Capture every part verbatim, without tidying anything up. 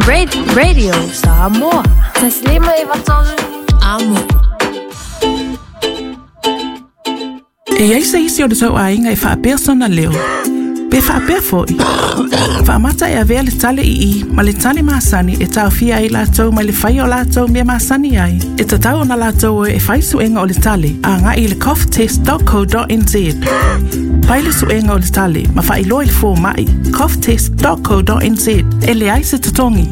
Radio Samoa. Taslima e vatolu. Amo. E iai se isi o le tau aiga e faapea sona leo. Pe faapea fo'i. Faamata e avea le tale i i ma le tale masani e taofia ai latou mai le faia o latou mea masani ai. E tatau ona latou e fai suega o le tale a agai i le cough test dot co dot n z. Pai le suega o le tale ma faailoa i le foma'i cough test dot co dot n z e leai se totogi.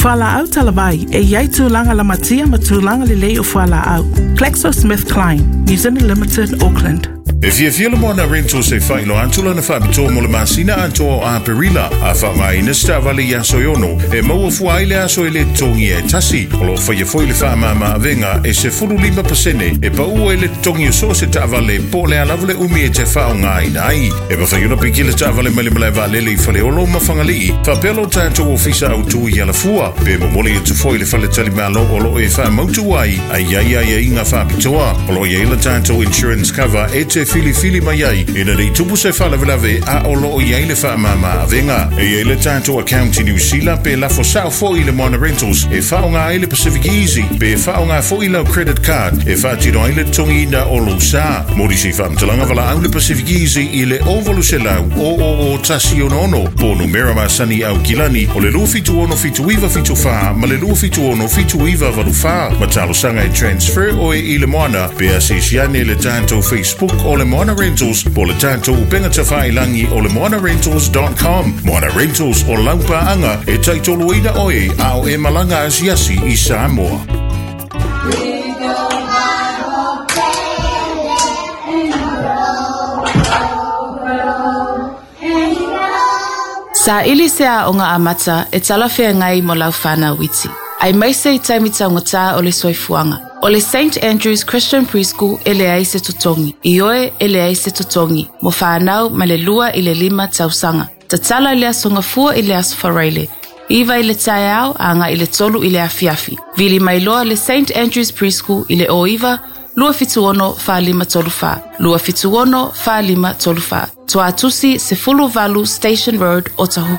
Fualaau talavai e iai tulaga lamatia ma tulaga lelei o fualaau. GlaxoSmithKline, New Zealand Limited, Auckland. E fiafia le Moana Rentals e whailo atu lana whaapitoa mo le masina atoa o Aperila a whaangaina se taavale i aso e ono e maua fua ai le aso e le totogi e tasi. O loo whaia foi le whaamama avenga e se fulu lima pasene e paua e le totogi o so se taavale po le alava le umi e te whaongaina ai. E mawhai ona piki le taavale mai le malae vaalele i Faleolo ma Fagalii. Whaapea lo tātou ofisa au tui i alafua. Pe momoli e tufoi le fale talimalo o loo e whaamautu ai ai ai ai ai ngā whaapitoa. O loo iai le tātou insurance cover e te fili fili mai ai ina nei tupu se faalavelave a o loo iai le faamama avega. E iai le tatou account i New Zealand pe lafo sao fo'i le Moana Rentals e faaoga ai le Pacific Easy pe faaoga fo'i lau credit card e faatino ai le totogiina o lou sa. Mo nisi faamatalaga valaau le Pacific Easy i le o valu selau o o o tasi ono ono po numera masani au kilani o le lua fitu ono fitu iva fitu whā ma le lua fitu ono fitu iva valu whā. Ma talosaga e transfer oe i le Moana pe asisiane le tatou Facebook o le Moana Rentals po le tatou upega tafailangi o le moana rentals dot com. Moana Rentals o laupaanga e taitoluina oe a o e malaga asiasi i Samoa. Sa ili se aoga amata e talafeagai mo lau whanau iti. Ai maise i taimi taugata o le soifuaga. O le Saint Andrew's Christian Preschool e leai se totogi. I oe e leai se totogi. Mo whanau ma le lua i le lima tausaga. Tatala i le aso gafua i le aso faraile. Iva i le taeao a agai i le tolu i le afiafi. Vili mai loa le Saint Andrew's Preschool i le o iva, lua fitu ono wha lima tolu wha. Lua fitu ono wha lima tolu wha. Tuatusi Sefulu Valu Station Road, Otahuhu.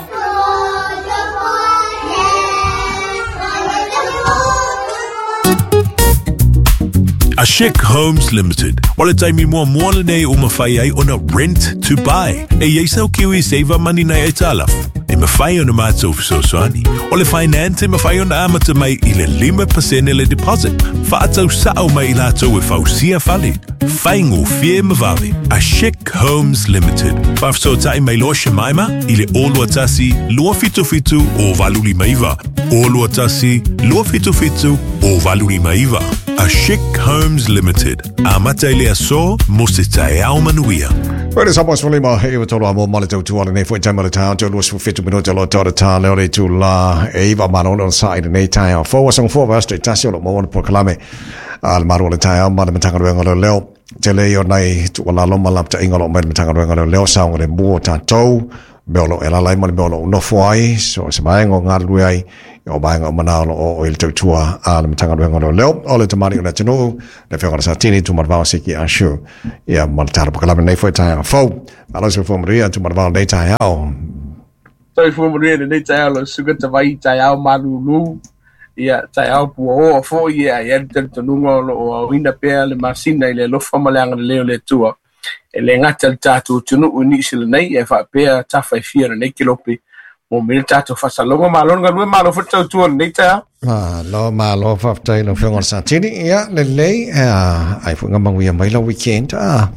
Ashik Homes Limited. O le taimi mua mua lenei o mawhai ai ona rent to buy. E iai sau kiwi save money nei e talafu. E mawhai ona mātou fesoasoani. O le finance e mawhai ona amata mai i le lima pasene le deposit. Whaatau sao mai i lātou e fausia fale. Whaingo fie mawave. Ashik Homes Limited. Whafesoatai mai loa Shemaima i le o lua tasi lua fitu fitu o valu lima iva. O lua tasi lua fitu fitu o valu lima iva. Ashik Homes Limited. Amata i le aso mo se taeao manuia. Wera sa moas lima e iwa tolu a mo male tau tuala nei foi taima le tau tau lua sfu fitu minuta lo tau tā leo le tu la e iwa mana ono sa i nei taeao. Fō asanga fō vastu i tasi o lo mo ono pokalame a le maru o le taeao ma le matanga ruenga leo leo. Te lei o nei tuala loma lapta inga lo mai le matanga ruenga leo leo saunga le mua tātou mea o lo e lalai ma le mea o lo unofo ai so se maenga o ngā rue ai o maenga o manao lo o i le tautua a le matanga ruenga leo leo o le tamari o le atunuu le whionga le Satini Tumanavao Siki Ashu ia ma le tala pokalame nei foi taeao fou. Malo se fua manuia Tumanavao nei taeao. Toi fua manuia nei taeao lo suka tawai taeao malulu ia taeao pua oa foi ia ia le talitonuga o loo aoina pea le masina i le alofa ma le agalelei o le Atua. E le gata le tatou atunuu i nisi lenei ae faapea tafa e fia lenei kelope mo me le tatou faasaloga. Malo le galue, malo foi le tautua lenei taeao. Malo, malo faafetai lau Afioga o le Satini. Ia lelei ai foi ngamanuia mai lau weekend a.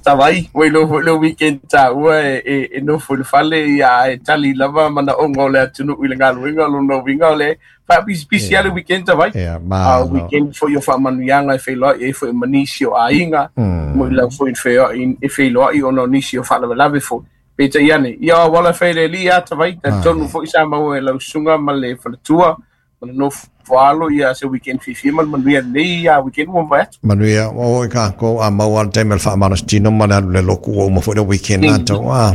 Tavai, ua iloa foi le weekend taua e e e nofo i le fale ia e tali lava manaoga o le atunuu i le galuega lona uiga o le faapisipisi a le weekend tavai. Ia A malo. weekend foi o faamanuiaga e feiloai ai foi ma nisi o aiga mo i lau foi i feoai e feiloai ona o nisi o faalavelave foi. Peitai ane, ia o wala whaere li a tavai, talitonu foi sa maua e lau susuga ma le faletua, ma le nofo Walo ia se weekend fifi ma manuia nei ia weekend mo vai. Manuia o ka ko a mau al time fa manos tino mana le loku o mo fo the weekend na to. Ah.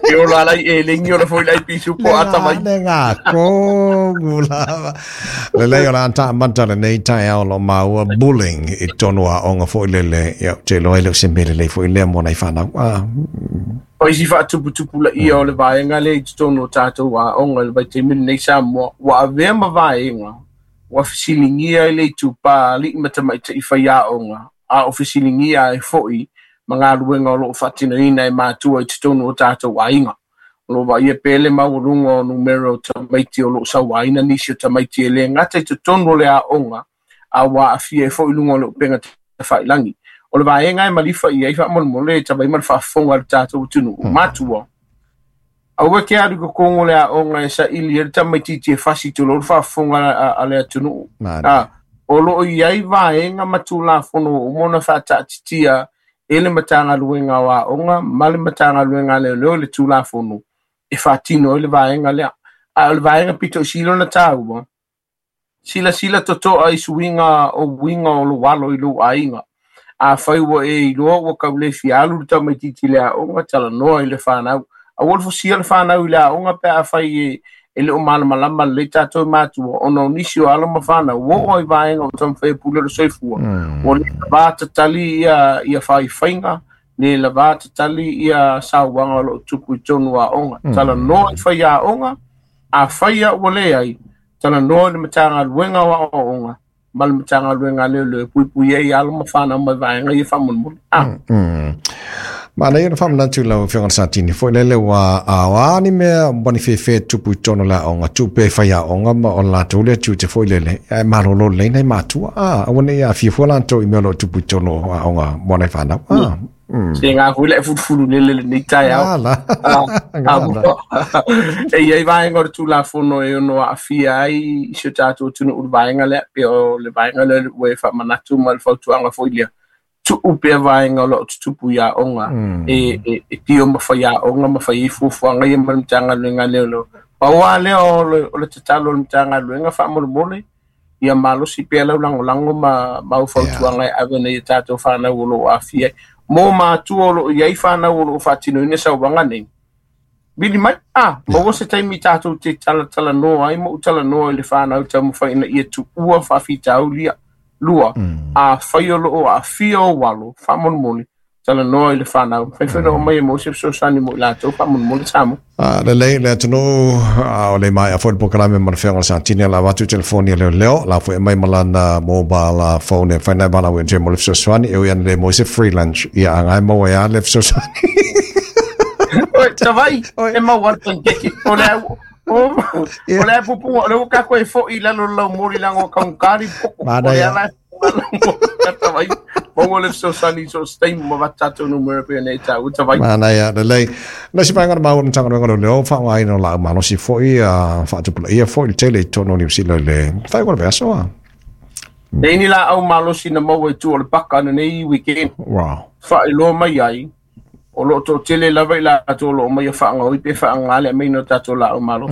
Yo la lai e lengi o foi lai pisu po ata mai. Ne nga ko gula. Le le ola ta manta le nei tai ao lo maua bullying i tono a onga foi le le ia te lo ele se mele le foi le mo nei whanau. Ah. O isi whaatuputupu la ia o le vaenga le i totonu o tātou a onga le vaitaimi nei Samoa. Ua avea ma vaenga, ua fesilingia i le itupā alii ma tamaita'i faiaoga, a o fesiligia ai fo'i ma galuega o loo faatinoina e matua i totonu o tātou aiga. O loo vaaia pea le maualuga o numera o tamaiti o loo sauaina nisi o tamaiti e lē gata i totonu o le aoga, a ua aafia ai fo'i luga o le upega tafailagi. O le vaega e malifa ia i faamolemole e tavai ma le faafofoga a le tatou atunuu matua. Aua ke alu i kokogo le aoga e saili ai le tamaititi e fasi tulou le faafofoga a le atunuu. A o loo iai vaega ma tulafono uma ona faataatitia e le Matagaluega o Aoga ma le Matagaluega a Leoleo le tulafono e faatino ai le vaega lea. A o le vaega pito i sili ona taua, silasila totoa i suiga o uiga o lou alo i lou aiga. A fai ua e iloa ua kaulefi alu le tamaititi le aoga talanoa i le whanau. Aua le fosia le whanau i le aoga pe a fai e, e leo malamalama lelei tatou matua ona o nisi o alo ma whanau. Ua oo ai vaega o taumafai e pule le soifua. Ua le lavā tatali ia, ia faifaiga, le lavā tatali ia sauaga o loo tupu i tonu aoga. Talanoa i fai aoga, a fai a ua leai, talanoa i le Matagaluega o Aoaoga ma le Matagaluega a Leoleo e puipui ai alo ma whanau mai vaega ia faamolemole. Ah. Ma nei ona whamanatu lau whionga Satini foi lele ua awa ni mea wani whewhe tupu i tono la onga tupe whai a onga ma o lātou lea tu te foi lele e marolo lei nei mātua. Ah, awa nei a whiawhua lātou i mea lo tupu i tono a onga mwana i whanau. Ah. Se ngā hui le futufuru lele le nei tai au. Ala. E iai vaenga o le tulafono e ono aafia ai i si o tātou atunuu le vaenga lea, pe o le vaenga lea ua e faamanatu ma le fautuaga foi lea. Tuu pea vaenga o loo tutupu i aoga, e, e, e tio ma fai aoga ma fai ai fuafuaga ia ma le Matagaluega a Leoleo. Pau lava lea o le, o le tatalo o le Matagaluega faamolemole, ia malosi pea lau lagolago ma, ma au fautuaga e ave nei e tatou whanau o loo aafia ai. Mo mātua o loo iai whanau o loo faatinoina sauaga nei. Vili mai, ah, maua se taimi tatou te talatalanoa ai, ma ou talanoa i le whanau taumafai ina ia tuua faafitauli lua. A fai o loo aafia o alo, faamolemole, talanoa i le whanau. Whaiwhaina o mai e mo se fesoasoani mo i latou, faamolemole Samoa. Ah, le lei le atunuu o le mai a foi le polokalame ma le whionga Satini la watu telefoni a leo leo la foi mai malana mobile phone e whainai bala ue mo le fesoasoani e ui le mo se free lunch ia angai mo e a le fesoasoani. Oi, tavai, e mau al pancake. O le au, o, o le pupunga, o le uka koe foi lalo lau mori lango kaungkari poko. O le ala, tavai. Mo le fesoasoani so stein mo va tatou numera pe nei tau tavai. Mana ia le lei. Na si painga mau na tanga ngo leo fa ngai no la malo si foi a fa tu ia foi le tele tono ni silo le. Fa ko verso a. Nei ni la au malo si na mo tu o le paka na nei weekend. Wow. Fa ilo mai ai. O lo to tele lava i la to lo mai fa ngoi pe fa ngale mai no tatou la au malo.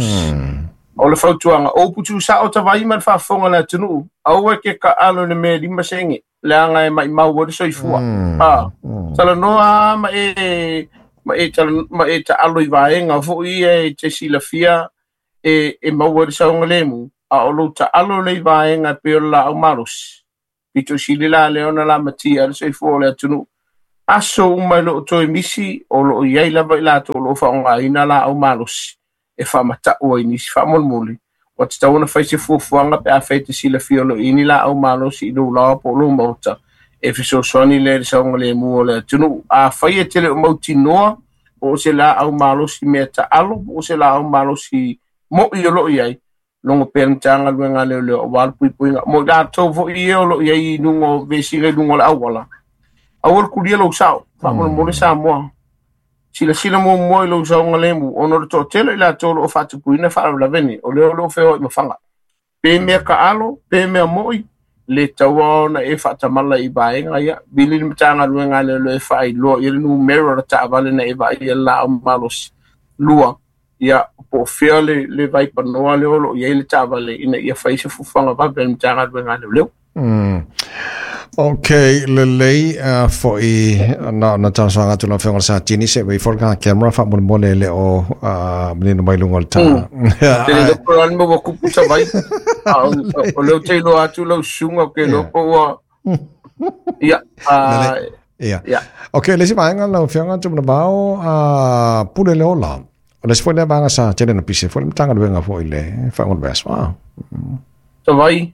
O le fautuaga o putu sa o tavai ma le faafofoga le atunuu aua ke ka alo le mea lima sege leaga e maimau ai le soifua. A talanoa ma e ma e ma e taalo i vaega fo'i ia e te silafia e e maua ai le saogalemu a o lou taalo le i vaega pe o le laau malosi pito sili la le ona lamatia le soifua o le atunuu. Aso uma i loo toe misi o loo iai lava i latou o loo faaaogaina laau malosi e faamatau ai nisi faamolemole. Ua tatau ona fai se fuafuaga pe a fai te silafia o loo ini laau malosi i lou laoa po o lou maota e fesoasoani lea i le saogalemu o le atunuu. A fai e tele o mautinoa po o se laau malosi mea taalo po o se laau malosi mo'i o loo iai logo pea le Matagaluega a Leoleo auā le puipuiga mo i latou fo'i ia o loo iai i luga o vesiga i luga o le auala. Aua le kulia lou sao faamolemole Samoa. Silasila muamua i lou saogalemu ona o le toatele i latou o loo faatupuina faalavelavene o lea o loo feoai ma faga. Pe mea kaalo, pe mea mo'i, le taua ona e faatamala i vaega ia. Vili le Matagaluega a Leoleo e faailoa ia le numera o le taavale na e vaaia le laau malosi. Lua, Ia po o fea le, le vaipanoa le olo i ai le taavale ina ia fai se fuafuaga vave a le Matagaluega a Leoleo. Mm. Ok, lelei uh, fo'i na na talosaga atu lau afioga le Satini se wei fo le camera faamolemole le o uh, manino mai luga o le tā. Te le loko lani ma ua kupu savai. A o leo te iloa atu lau susuga o ke iloa po ua ia uh, Ia. Ok, le isi vaega lau afioga Tumanavao uh, pule le ola. O le isi foi lea vaega sa tele na pise foi le Matagaluega foi le faaiuga o le vaiaso. Ah. Savai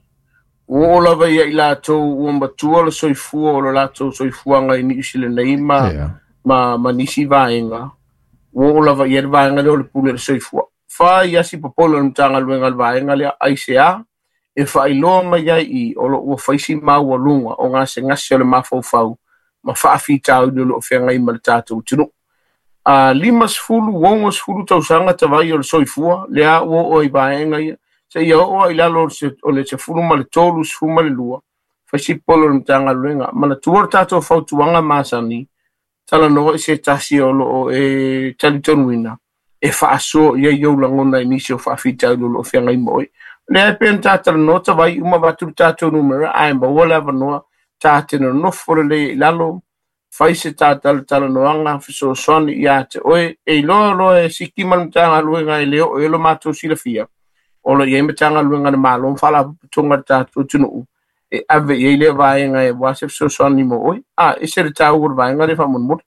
ua oo lava ia i latou ua matua le soifua o le latou soifuaga i Niu Sila nei ma, Yeah. ma, ma nisi vaega. Ua oo lava ia le vaega lea o le pule le soifua. Fai asi popolo le Matagaluega le vaega lea aisea e faailoa mai ai i o loo ua faisi maualuga o gasegase o le mafaufau ma faafitauli o loo feagai ma le tatou atunuu. A lima sefulu ogo sefulu tausaga tavai o le soifua lea ua oo ai vaega ia seia oo ai lalo o le sefulu ma le tolu sefulu ma le lua faisi polo le Matagaluega manatua le tatou fautuaga masani talanoa i se tasi o loo e talitonuina e faasoa i ai ou lagona i nisi o faafitauli o loo feagai ma oe. Lea e pei ona tatalanoa tavai uma avatu le tatou numera ae maua le avanoa ta te nonofo lelei i lalo fai se talanoaga fesoasoani ia te oe e iloa loa e siki ma le Matagaluega e le oo e lo matou silafia o lo i ai Matagaluega le Malo ma Faalapotopotoga le tatou atunuu e ave i ai lea vaega e ua se fesoasoani mo oe a ese le taua o le vaega lea faamolemole.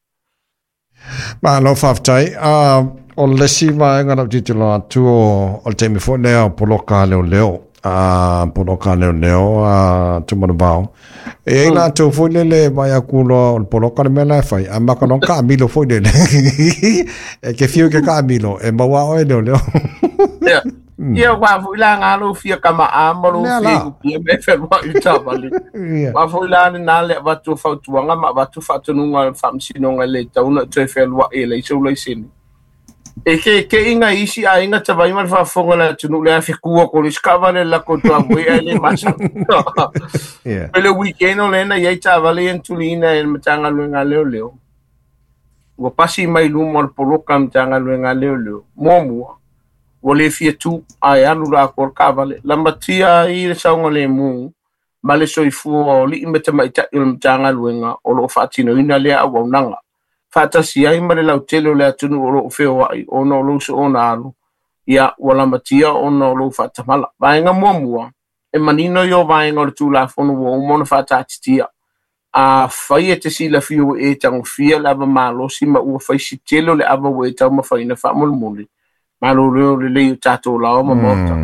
Malo faafetai. Uh, o le isi vaega lau tilotilo atu o, o le taimi foi lea o poloka leoleo. Uh, poloka leoleo uh, Tumanavao. E ai latou foi lele mai aku loa o le poloka le mea la e fai. A maka loa kaamilo foi lele. E ke fiu ke kaamilo. E maua oe leoleo. Ia ia ua foi la ngā lou fia kama'a ma lou Lea fia la. i me whenua i taavale. Ia. Ua foi la lena le avatu o fautuaga ma avatu faatonuga le faamasinoga le tauna toe fealua'i e leai sou laisene. E ke ke inga isi aiga tavai ma le faafofoga le atunuu le afekua ko le isi taavale le lakou tuavoi ae le masa. Ia. Pe le weekend o lena i ai taavale ia na tuliina e le Matagaluega a Leoleo. Ua pasi mai luma o le poloka Matagaluega a Leoleo. Muamua, ua le fia tu ae alu la atoa le taavale. Lamatia ai le saogalemu ma le soifua o alii ma tamaitai o le Matagaluega o loo faatinoina lea auaunaga. Faatasi ai ma le lautele o le atunuu o loo feoai ona o lou soona alu ia ua lamatia ona o lou faatamala. Vaega muamua, e manino i o vaega o le Tulafono ua uma ona faataatitia. A fai e te silafia ua e tagofia le ava malosi ma ua faisi tele o le ava ua e taumafaina faamolemole. Malo leo lelei o tatou laoa ma maota.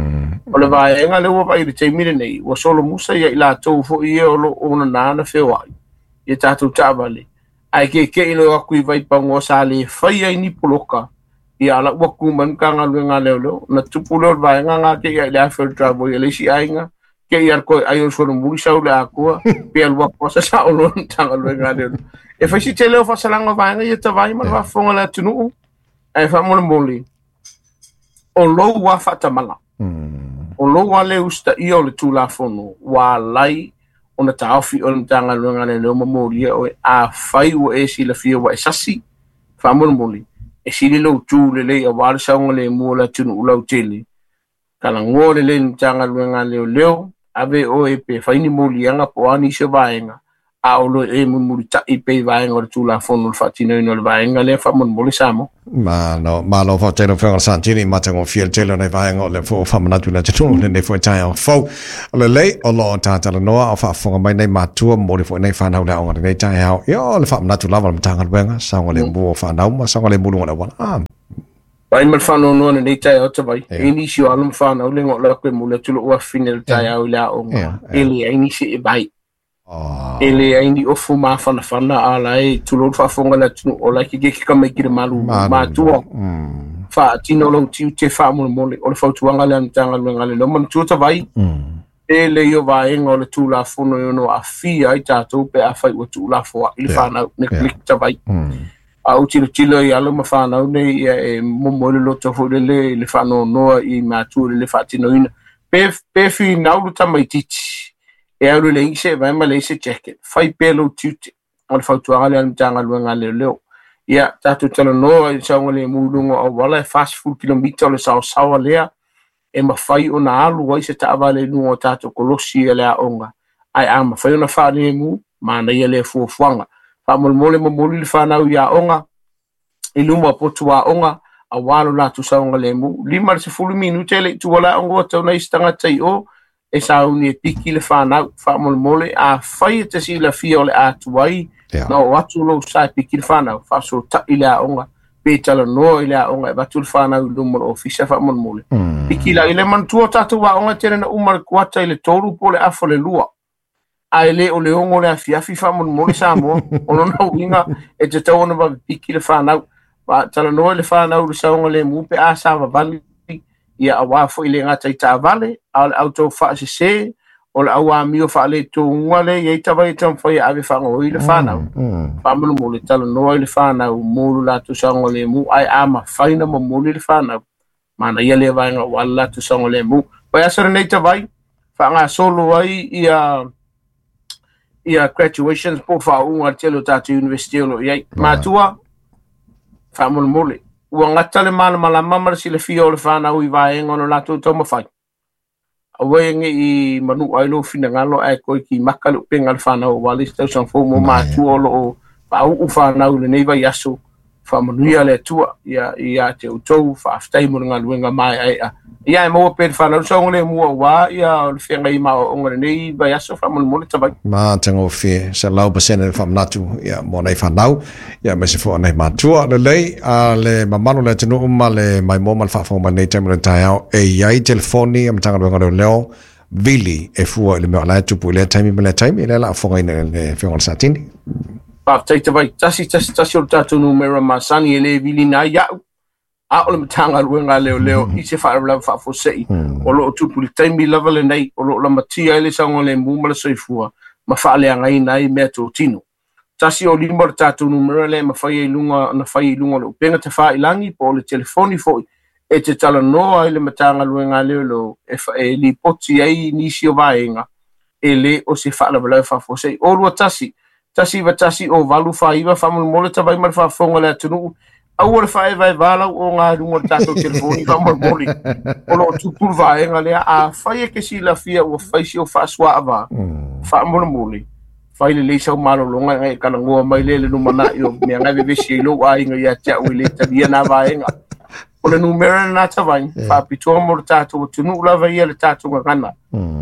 O le vaega lea ua vaai i le taimi lenei, ua solomusa ia i latou foi ia o loo onana na feoai ia tatou taavale. Ae keke'i loa atu i vaipagoa sa le fai ai ni poloka ia ala ua ku mai Matagaluega a Leoleo na tupu lea o le vaega ga ke ia i le afe o le driveway a le isi aiga ke ia le koe ai o le solomuli sau le akoa pe alu atu asa sao loa le Matagaluega a Leoleo. E faisi tele o faasalaga o vaega ia tavai ma le faafofoga le atunuu ae faamolemole o lou ua faatamala. O lou ua le usitaia o le Tulafono ua alai ona taofi o le Matagaluega a Leoleo ma molia oe a fai ua e silafia ua e sasi faamolemole e sili lou tu lelei auā le saogalemu o le atunuu lautele. Talanoa lelei le Matagaluega a Leoleo ave oe pe fai ni moliaga po o a nisi o vaega a o lo e mulimulita'i pei vaega o le Tulafono o le faatinoina o le vaega lea faamolemole Samoa. Malo, malo faafetai lau afioga le Santini matagofie le tele o nei vaega o le fua faamanatu i le atunuu lenei foi taeao fou. O lelei o loo tatalanoa o faafofoga mai nei matua momoli foi nei whanau le aoga lenei taeao. Ia o le faamanatu lava o le Matagaluega, saogalemu o whanau ma saogalemu luga o le auala. Ah. Vai ma le faanoanoa lenei taeao tavai. Ia. E nisi o alo ma whanau le ngō lako e muli atu lou afine le taeao i le aoga. Ia, E leai nisi e vai. Oh. E leai ni ofu mafanafana a la e tulou le faafofoga le atunuu o la e kekeke ka mai ki le malu Malu. matua. Mm. Faatino lou tiute faamolemole o le fautuaga lea a le Matagaluega a Leoleo manatua tavai. Mm. E lei o vaega o le Tulafono e ono aafia ai tatou pe afai ua tuulafoa'i le Ia. whanau ne Ia. klik tavai. Mm. A ou tilotilo i alo ma whanau nei ia e momo le loto foi lele i le faanoanoa i matua le le faatinoina. Pe, pe finau le tamaitiiti e alu le ise vai ma le ise jacket. Fai pea lou tiute o le fautuaga lea a le Matagaluega a Leoleo. Ia tatou talanoa i le saogalemu i luga o auala e fasefulu kilomita o le saosaoa lea e mafai ona alu ai se taavale i luga o tatou kolosi e le aoga ae a mafai ona faalemu manaia lea fuafuaga. Faamolemole momoli le fanau i aoga i luma o potu aoga auā lo latou saogalemu lima i le sefulu minute e le'i tua le aoga ua tau nai se tagata i o e sauni e piki le fanau. Faamolemole afai e te silafia o le a tuai na oo atu lou sa e piki le fanau faasota'i le aoga pe talanoa i le aoga e avatu le fanau i luma o le ofisa faamolemole piki la i le manatua o tatou aoga e tele na uma le kuata i le tolu po o le afa le lua ae lē o le ogo le afiafi faamolemole Samoa o lona uiga e tatau ona vavepiki le fanau. Talanoa i le fanau i le saogalemu pe a savavali ia auā fo'i le gata i taavale a o le autou faasesē o le auamio faaletouga lea iai tavai e taumafai e ave faagaoi le fanau. Faamolemole talanoa i le fanau mo lo latou saogalemu ae a mafai na momoli le fanau manaia lea vaega auā le latou saogalemu. Vaiaso lenei tavai faagasolo ai ia ia graduations po o faauuga a le tele o tatou university o loo iai. Matua faamolemole ua gata le malamalama ma le silafia o le fanau i vaega o lo latou taumafai aua e ge'i manu'a ai lou finagalo ae toe kimaka le upega le fanau auā le isi tausaga fou mo matua o loo faau'u fanau i lenei vaiaso. Faamanuia le Atua ia ia te outou faafetai mo le galuega maeaea ia e maua pea le fanau le saogalemu auā ia o le feagai ma aoaoga lenei vaiaso faamolemole tavai. Matagofie selau pasene le faamanatu ia mo nei fanau ia aemaise foi o nei matua. Lelei a le mamalu o le atunuu ma le maimoa ma le faafofoga mai lenei taimi o le taeao e iai telefoni a Matagaluega Leoleo vili e fua i le mea o la e tupu i lea taimi ma lea taimi lea o le a fofogaina i le Afioga i le Satini. Faafetai tavai tasi tasi tasi o le tatou numera masani e lē vilina ai a'u a o le Matagaluega a Leoleo i se faalavelave faafuase'i o loo tupu i le taimi lava lenei o loo lamatia ai le saogalemu ma le soifua ma faaleagaina ai mea totino. Tasi o lima o le tatou numera lea e mafai ai luga ona fai i luga o le upega tafāilagi po o le telefoni fo'i e te talanoa ai le Matagaluega a Leoleo e, e lipoti ai nisi o vaega e lē o se faalavelave faafuase'i. O lua tasi tasi iva tasi o valu fāiva faamolemole tavai ma le faafofoga o le atunuu aua le faaevaevā lau oga i luga o le tatou telefoni faamolemole o loo tupu le vaega lea afai e ke silafia ua fai si o faasuaavā faamolemole fai lelei sau malologa e kalagoa mai lea i le lumana'i o mea gae vevesi ai lou aiga ia te a'u e lē talia na vaega. O le numera lenā tavai faapitoa mo le tatou atunuu lava ia le tatou gagana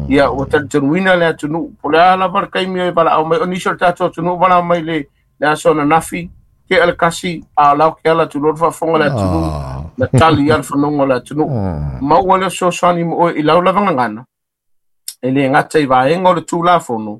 ia ua talitonuina le atunuu po o le a lava le taimi e valaau mai o nisi o le tatou atunuu valaau mai le le aso ananafi tea le kasi a o lao ke ala atu loa le faafofoga le atunuu na tali ia le fanoga o le atunuu maua le fesoasoani mo oe i lau lava gagana e lē gata i vaega o le Tulafono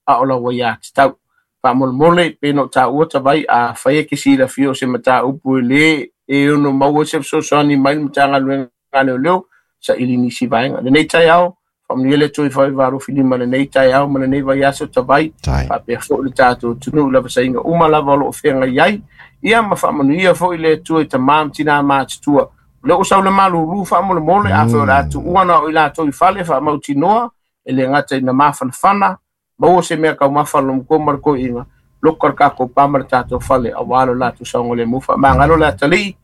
a o lau aiā tatau. Faamolemole pe na o taua tavai afai e ke silafia o se mataupu e lē e ono maua se fesoasoani mai le Matagaluega a Leoleo saili nisi vaega. Lenei taeao faamanuia le Atua i faivalofi lima lenei taeao ma lenei vaiaso tavai faapea fo'i le tatou atunuu i lavasaiga uma lava o loo feagai ai ia ma faamanuia fo'i le Atua i tamā ma tinā matutua. O lea ua sau le malūlū faamolemole afai o le a tuua na o i latou i fale faamautinoa e le gata ina mafanafana maua se mea kaumafa a le matua ma le toeaiina loka le tatou pa ma le tatou fale auā lo latou saogalemu. Faamagalo le atalii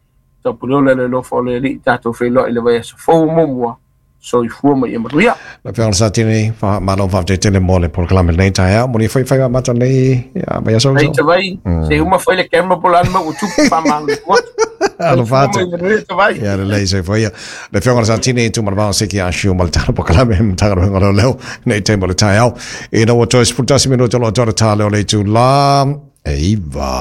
taupuleo le alofa o le Alii tatou feiloai i le vaiaso fou muamua. Soifua ma ia manuia. La Afioga i le Satini faamalo faafetai tele mo le polokalame lenei taeao mo le faifaiga amata lenei ia vaiaso. Ai tavai se uma fai le camera po o le a le mea ua tupu faamalo atu. Alofa atu. Soifua ma ia manuia tavai. Ia lelei soifua ia. Le Afioga i le Satini Tuimalevaoa Seki Ah Siu ma le tala polokalame Matagaluega o Leoleo nei taimi o le taeao. Ina ua toe sefulu tasi minute o loo toe le tā lea o le itulā e iva.